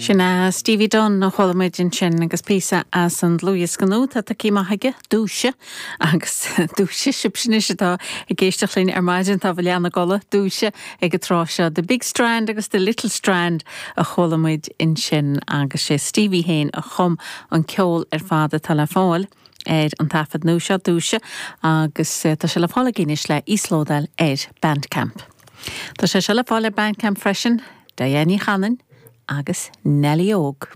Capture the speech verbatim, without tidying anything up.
Sin é Stevie Dunn a chuala muid ansin agus píosa as an dlúthdhiosca nua atá tagtha amach aige Dúise agus dúise sibh anois atá ag éisteacht linn ar maidin tá leana gola dúise ag an tráth seo The Big Strand agus The Little Strand a chuala muid ansin agus sé Stevie féin a chum an ceol ar fad atá le fáil ar an taifead nua seo Dúise agus eh, tá sé le fáil anois le íoslódáil ar Bandcamp. Tá sé se le fáil ar Bandcamp freisin, Diane Ní Chanainn agus Nelly Óg.